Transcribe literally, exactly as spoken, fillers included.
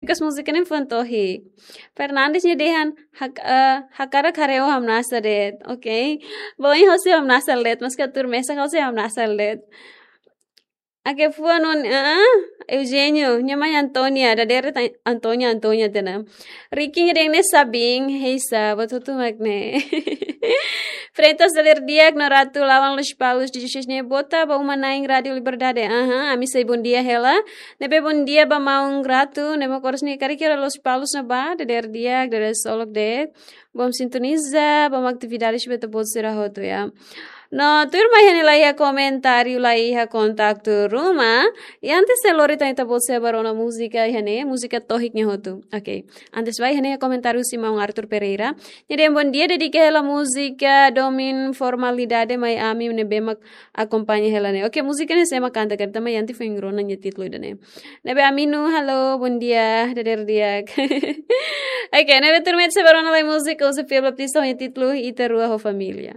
Because múzika ne'e fuan tohik. Fernandes nia dehan hak, eh, hakarak haree ó hamnasa de'it. Ok. Bom, ohin ha'u sei hamnasa de'it, maski tuur mesak ha'u sei hamnasa de'it. Oke, fuan on, ah, Eugenio, nia mai Antonia, dadeer de'it Antonia, Antonia tiha ona. Ricky nia dehan ne'e Sabin, heisa, buat hotu mak ne'e. Freitas, dadeer di'ak, no Ratu Lawan Lospalos dezasseis ne'e, boa tarde, ba uma-na'in Rádio Liberdade. Aha, ami sei bondia hela. Ne'ebé bondia ba maun Ratu, ne'ebé kores ni kari kira Lospalos ne'ebá, dadeer di'ak, dadeer solok de'it. Bom sintoniza, bom atividades ba ita-boot sira hotu, ya. No, tuirmai iha ne'e laiha komentáriu, laiha kontaktu ruma. I antes de lori tan ita-boot sira ba rona múzika iha ne'e, múzika tohik nia hotu. Ok. Antes ba iha ne'e komentáriu husi maun Arthur Pereira. Nia dehan bondia, dedika hela múzika Domin Formalidade mai ami ne'ebé mak akompaña hela ne'e. Ok, múzika ne'e sé mak kanta, kanta mai antes foin rona nia títulu ida-ne'e. Ne'ebé Aminu, halo, bondia, dadeer di'ak. Ok, ne'ebé tuirmai ita sei ba rona lai múzika husi Fia Baptista ho nia títulu Ita Rua ho Família.